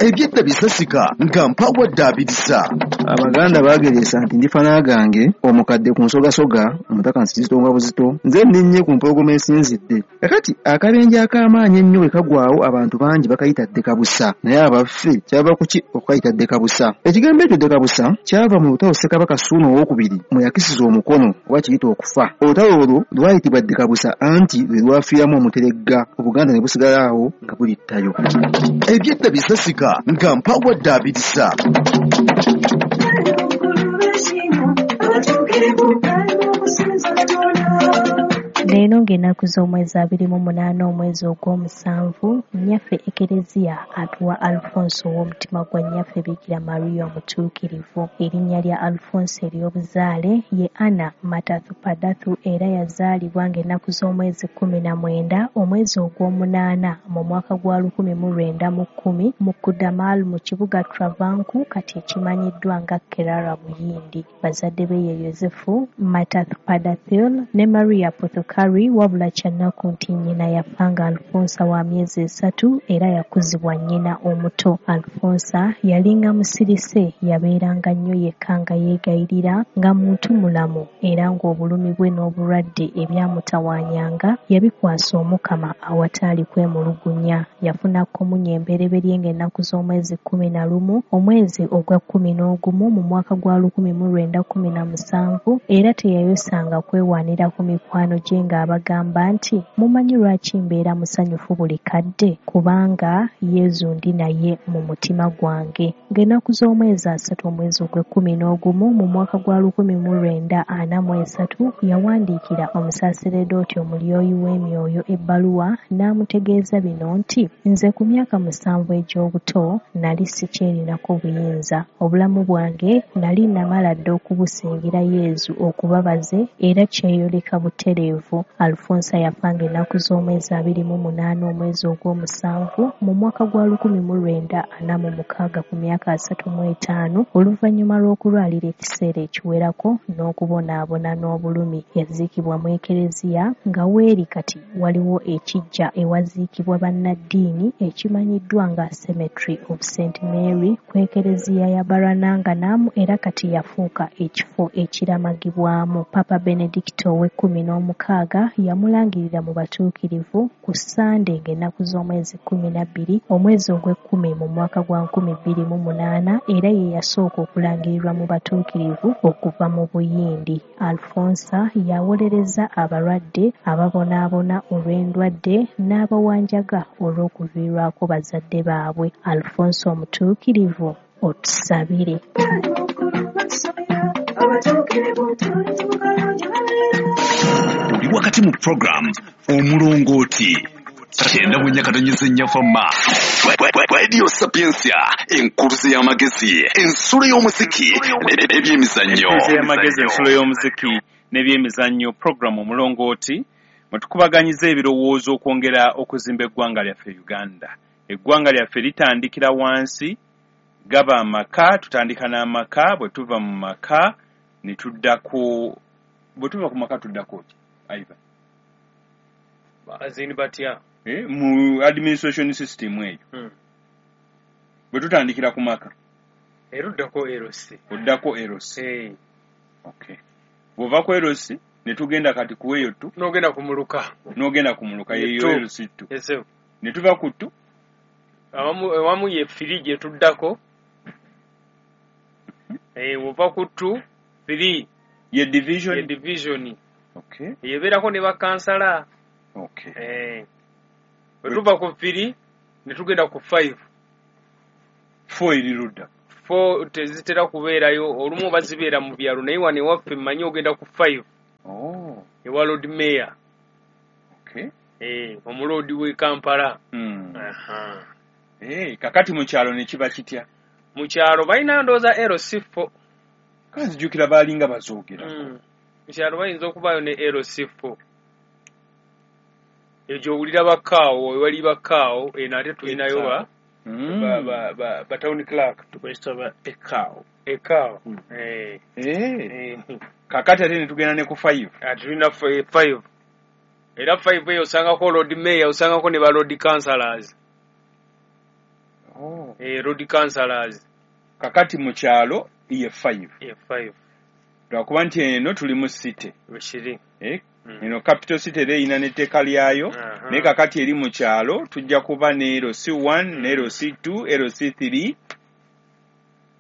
Ebyedda bisasika nga mpawadde abirisa. Abaganda baageresa nti ndifa n'agange omukadde ku nsogasoga omutaka nsizitonga buzito nze nninnye ku mpologoma esinzidde. Kakati akabenje ak'amaanyi ennyo bwe kagwawo abantu bangi bakayita ddekabusa, naye abaffe kyava ku ki okukayita ddekabusa? Ekigambo ekyo ddekabusa kyava mu lutalo Ssekabaka Ssuuna Owookubiri mwe yakisiza omukono oba kiyita okufa. Olutalo olwo lwayitibwa ddekabusa anti lwe lwafiiramu omuteregga, Obuganda ne busigala awo nga buli ttayo. Ebyedda bisasika nga mpawadde abirisa. Leero ng'ennaku z'omwezi abiri mu munaana omwezi ogw'omusanvu, nnyaffe Ekereziya atuwa Alfonso ow'omutima gwa nnyaffe Bikira Maria Omutuukirivu. Erinnya lya Alfonso ery'obuzaale ye Anna Matathupadathu era yazaalibwa ng'ennaku z'omwezi kkumi na mwenda omwezi ogw'omunaana mu mwaka gwa lukumi mu lwenda mu kkumi mu Kudamal mu kibuga Travancore kati ekimanyiddwa nga Kerala Buyindi. Bazadde be ye Yosefu Matathupadathu ne Maria Pothukari, wabula kyannaku nti nnyina yafa nga Alfonsa wa myezi esatu era yakuzibwa nnyina omuto. Alfonsa yalinga musirise, yabeeranga nnyo yekka nga yeegayirira nga muntu mulamu era ng'obulumi bwe n'obulwadde ebyamutawaanyanga yabikwasa Omukama awataali kwemulugunya. Yafuna komunyo embereberye ng'ennaku z'omwezi kkumi na lumu omwezi ogwa kkumi n'ogumu mu mwaka gwa lukumi mu lwenda kkumi na musanvu era teyayosanga kwewaanira ku mikwano gye ng'abagamba nti mumanyi lwaki mbeera musanyufu buli kadde, kubanga Yezu ndi naye mu mutima gwange. Ng'ennaku z'omwezi asatu omwezi ogw'ekkumi n'ogumu mu mwaka gwa lukumi mu lwenda ana mu esatu yawandiikira omusaseredooti omulyoyi w'emyoyo ebbaluwa n'amutegeeza bino nti nze ku myaka musanvu egy'obuto nali sikyerinako buyinza, obulamu bwange nali namala dda okubusingira Yezu okubabaze era kyeyoleka butereevu. Alfonsa yafa ng'ennaku z'omwezi abiri mu munaana omwezi ogw'omusanvu mu mwaka gwa lukumi mu lwenda ana mu mukaaga ku myaka asatu mu etaano oluvannyuma lw'okulwalira ekiseera ekiwerako n'okubonaabona n'obulumi. Yaziikibwa mu Ekereziya nga weeri kati waliwo ekiggya ewaziikibwa bannaddiini ekimanyiddwa nga Cemetery of Saint Mary ku Ekereziya ya Barananganamu era kati yafuuka ekifo ekiramagibwamu. Papa Benedicto ow'ekkumi n'omukaaga yamulangirira mu batuukirivu ku Ssande ng'ennaku z'omwezi kkumi na bbiri omwezi ogw'ekkumi mu mwaka gwa nkumi bbiri mu munaana era ye yasooka okulangirirwa mu batuukirivu okuva mu Buyindi. Alfonsa yawolereza abalwadde ababonaabona olw'endwadde n'abawanjaga olw'okuviirwako bazadde baabwe. Alfonso Omutuukirivu, otusabire. Oli wakati mu program Omulongooti kyenda bwe nyakatonyeza ennyafa ma Radio Sapientia, enkuluze y'amagezi, ensulo y'omuziki n'ebyemizannyo. Enkuluze y'amagezi, ensulo y'omuziki n'ebyemizannyo, program Omulongooti mwe tukubaganyiza ebirowoozo okwongera okuzimba eggwanga lyaffe Uganda. Eggwanga lyaffe litandikira wansi, gaba amaka, tutandika n'amaka, bwe tuva mu maka ne tuddako, bwe tuva ku maka tuddako ki? Aiva. Azini batya? Eh, mu administration system eyo. Hmm. Bwe tutandikira ku maka. Era oddako L C. Oddako L C. Eh. Okay. Bw'ova ku L C ne tugenda kati ku eyo tu. N'ogenda ku muluka. N'ogenda ku muluka eyo L C two. Yes. Ne tuva ku two. Awamu awamu ye three gye tuddako. Eh, bw'ova ku two, three ye division. Ye division. Okay. Ebeerako ne bakansala. Okay. Eh. Bwe tuva ku three ne tugenda ku five. Four eri ludda. Four tezitera kubeerayo, olumu oba zibeera mu byalo, naye wano ewaffe mmanyi ogenda ku five. Oh. Ewa Lord Mayor. Okay. Eh, omuloodi w'e Kampala. Mm. Aha. Eh, kakati mu kyalo ne kiba kitya? Mu kyalo balina ndowooza L C four. Kanzijukira baalinga bazoogera. Mm. Mu kyalo bayinza okubaayo ne L C four. Egyo owulira bakkaawo, ewali bakkaawo, eno ate tulinayo ba Mm. ba ba ba, ba town clerk. Tukozesa ba ekaawo. Ekaawo. Mm. Eh. Eh. Eh. Kakati ate ne tugenda ne ku five. Ate tulina five. Era five eyo osangako Lord Mayor, osangako ne ba Lord Councillors. Oh. Eh, Lord Councillors. Kakati mu kyalo ye five. Ye five. Lwakuba nti eno tuli mu city. Bwekiri. Eh? Mm. Eno capital city era erina n'etteeka lyayo. Aha. Naye kakati eri mu kyalo tujja kuba ne L C one, ne L C two, L C three,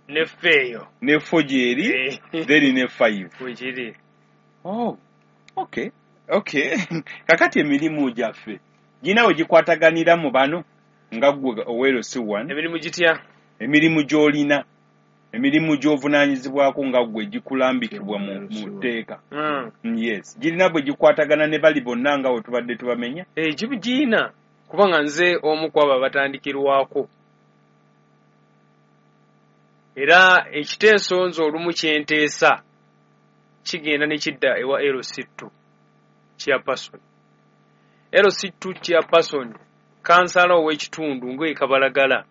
Ne four eyo. Ne four gy'eri, Eh. then ne five. Bwekiri. Oh. Okay. Okay. Kakati emirimu gyaffe gina we gikwataganira mu bano nga ggwe owa L C one. Emirimu gitya? Emirimu gy'olina, emirimu gy'ovunaanyizibwako nga ggwe gikulambikibwa mu mu tteeka. Mm. Yes, girina bwe gikwatagana ne bali bonna nga we tubadde tubamenya. Eh, gibu giyina kubanga nze omu ku abo abatandikirwako. Era ekiteeso nze olumu kye nteesa kigenda ne kidda ewa L C two chairperson. L C two chairperson, kansala ow'ekitundu ng'e Kabalagala,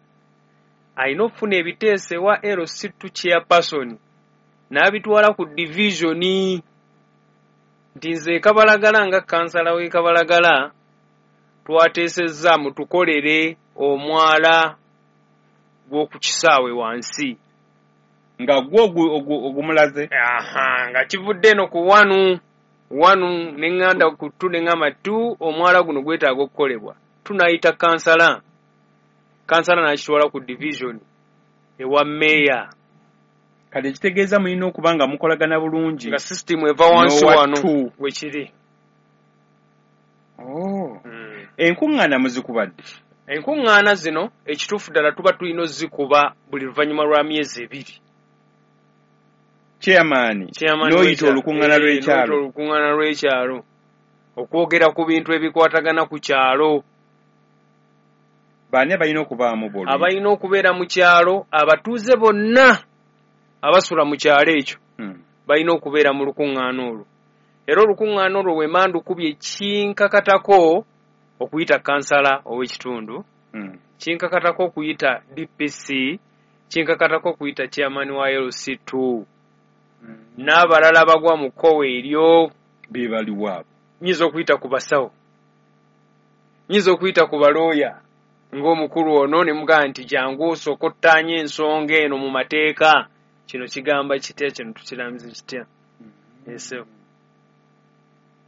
alina okufuna ebiteeso ewa L C two chairperson n'abitwala ku division nti nze e Kabalagala nga kansala w'e Kabalagala twateesezza mutukolere omwala gw'oku kisaawe wansi. Nga gwo ogumulaze? Aha, nga kivudde eno ku wanu wanu ne ŋŋanda ku two ne ŋŋamba two omwala guno gwetaaga okukolebwa. Tunayita kansala, kansala n'akitwala ku division ewa meeya. Kati ekitegeeza mulina okuba nga mukolagana bulungi. Nga system eva wansi N'owa wano two. Wekiri. Oh. Mm. Enkuŋŋaana muzikubadde? Enkuŋŋaana zino ekituufu ddala tuba tulina ozikuba buli luvannyuma lwa myezi ebiri. Chairman, Chairman n'oyita w'ekyalo. olukuŋŋaana Eh, lw'ekyalo. n'oyita olukuŋŋaana lw'ekyalo okwogera ku bintu ebikwatagana ku kyalo. Baani abalina okubaamu b'oluyita? Abalina okubeera mu kyalo, abatuuze bonna abasula mu kyalo ekyo Hmm. balina okubeera mu lukuŋŋaana olwo. Era olukuŋŋaana olwo bwe mandukubye kinkakatako okuyita kansala ow'ekitundu, Hmm. kinkakatako okuyita D P C, kinkakatako okuyita chairman wa L C two. N'abalala bagwa mu kkowe eryo. Be baliwo abo. Nnyinza okuyita ku basawo, nnyinza okuyita ku balooya ng'omukulu ono ne mugamba nti jangu osooke ottaanye ensonga eno mu mateeka, kino kigamba kitya, kino tukirambize kitya. Ese.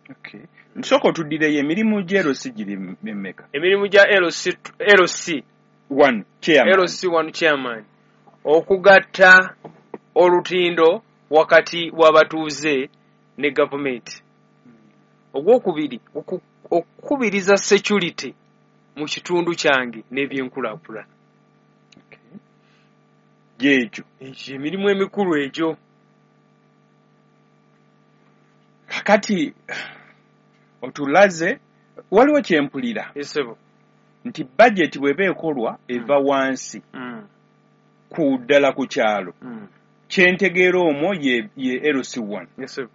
Okay. Nsooka otuddireyo emirimu gya L C giri emeka? Emirimu gya L C, L C one chairman. L C one chairman okugatta olutindo wakati w'abatuuze ne gavumenti. Ogwokubiri, okukubiriza security mu kitundu kyange n'ebyenkulaakulana. Gyegyo. Egyo emirimu emikulu egyo. Kakati otulaze waliwo kye mpulira. Esebo. Nti budget bw'eba ekolwa eva wansi. Mm. Ku ddala ku kyalo. Mm. Kye ntegeera omwo ye, ye L C one. Esebo.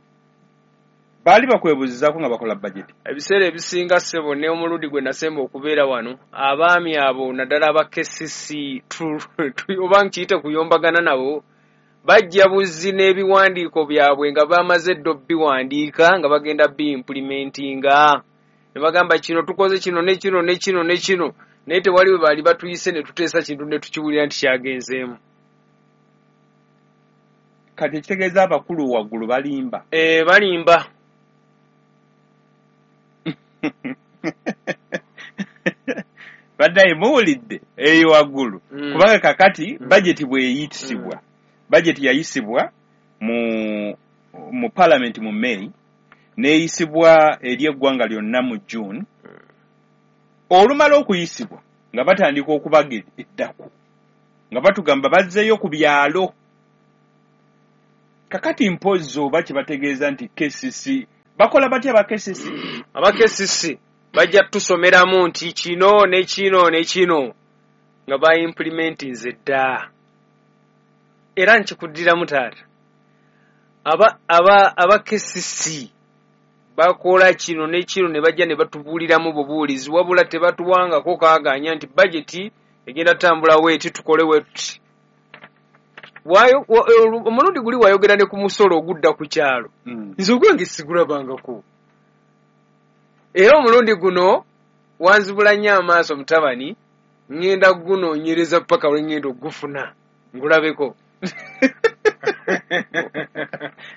Baali bakwebuuzizaako nga bakola budget. Ebiseera ebisinga ssebo ne omulundi gwe nasemba okubeera wano, abaami abo naddala aba K C C oba nkiyite kuyombagana nabo, bajja buzzi n'ebiwandiiko byabwe nga bamaze dda obbiwandiika nga bagenda bi-implementinga. Ne bagamba kino tukoze kino ne kino ne kino ne kino, naye tewali we baali batuyise ne tuteesa kintu ne tukiwulira nti kyagenzeemu. Kati ekitegeeza abakulu waggulu balimba. Eh, balimba. Baddaye muwulidde eyo waggulu. Mm. Kubanga kakati Mm. budget bw'eyitisibwa. Mm. Budget yayisibwa mu, mu parliament mu May, N'eyisibwa eri eggwanga lyonna mu June. Olumala okuyisibwa nga batandika okubaga eddaku, nga batugamba bazzeeyo ku byalo. Kakati mpozzi oba kyebategeeza nti K C C bakola batya aba K C C? Aba K C C bajja tusomeramu nti kino ne kino ne kino nga baimplementinze dda. Era nkikuddiramu taata, aba aba aba K C C bakola kino ne kino ne bajja ne batubuuliramu bubuulizi, wabula tebatuwangako kaaganya nti bajeti egenda tambula weeti, tukole wetuti. Wayo wa- omulundi guli wayogera ne ku musolo ogudda ku kyalo. Mm. Nze ogwange sigulabangako, era omulundi guno wanzibula nnyo amaaso mutabani. Ŋŋenda gunoonyereza paka lwe ŋŋenda ogufuna ngulabeko.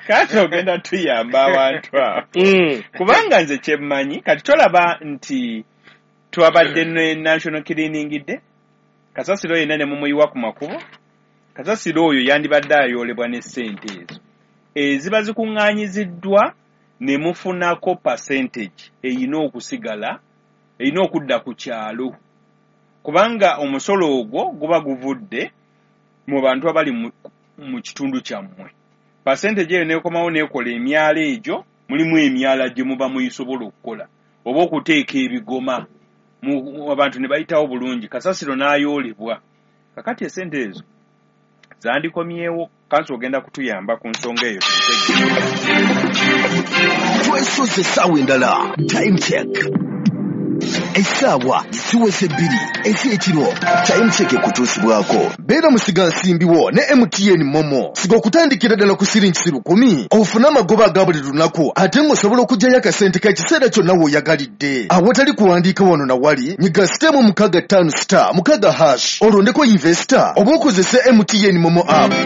Kati ogenda tuyamba abantu abo, Mm. kubanga nze kyemmanyi kati tolaba nti twabadde ne National Cleaning Day, kasasiro yenna ne mumuyiwa ku makubo. Kasasiro oyo yandibadde ayoolebwa ne ssente ezo eziba zikuŋŋaanyiziddwa ne mufunako percentage eyina okusigala, erina okudda ku kyalo, kubanga omusolo ogwo guba guvudde mu bantu abali mu, mu kitundu kyammwe. Percentage eyo nekomawo nekola emyala egyo, mulimu emyala gye muba muyisobola okukola oba okuteeka ebigoma mu- abantu ne bayitawo bulungi, kasasiro n'ayoolebwa. Kakati esente ezo zandikomyewo. Kansi ogenda kutuyamba ku nsonga eyo tutegeere. Twesoze essaawa endala. Time Check, essaawa ziweze bbiri ez'ekiro. Time Check ekutuusibwako beera musigansimbiwo ne M T N MoMo. Siga okutandikira ddala ku siringisi lukumi ofune amagoba aga buli lunaku, ate ng'osobola okuggyayo akasente k'ekiseera kyonna w'oyagalidde awatali kuwandiika wano na wali. Nyiga star emu mukaaga ttaano star mukaaga hash, olondeko investor oba okozese M T N MoMo app.